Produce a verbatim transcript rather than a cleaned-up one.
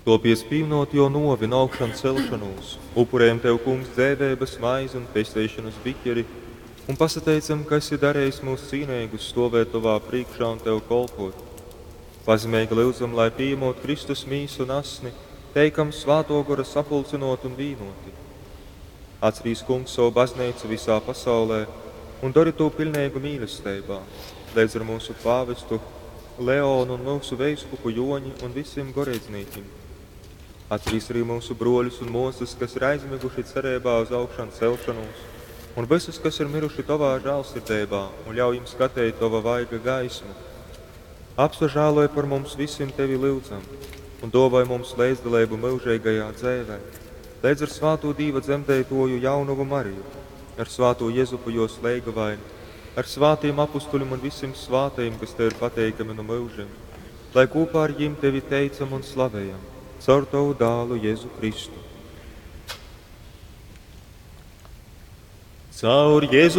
Tuopiec, pīmynot Juo nuovi un augšancelšonūs, upurejam Tev, Kungs, dzeiveibys maizi un pesteišonys bikeri un pasateicam, ka esi darejis myus cīneigus stuovēt Tovā prīškā un Tev kolpuot. Pazemeigi lyudzam, lai, pījamūt Kristus mīsu un asni, teikam Svātuo Gora sapulcynuoti un vīnuoti. Atcerīs, Kungs, sovu bazneicu visā pasaulē un dori tū piļneigu mīlesteibā, leidz ar myusu pāvestu Leonu un myusu veiskupu Juoņi un vysim goreidznīkim. Atcerīs arī myusu bruoļus un muosys, kas ir aizmyguši cereibā uz augšancelšonūs, un vysus, kas ir myruši Tovā žālsirdeibā, un ļauj jim skateit Tova vaiga gaismu. Apsažāloj par mums vysim Tevi lyudzam, un duovoj mums leidzdaleibu myužeigajā dzeivē, leidz ar svātū Dīva dzemdeituoju jaunovu Mariju, ar svātū Jezupu juos leigavaini, ar svātīm apustuļim un vysim svātajim, kas Tev ir pateikami nu myužim, lai kūpā ar jim Tevi teicam un slavejam, caur Tovu dālu Jezu Kristu. Caur Jezu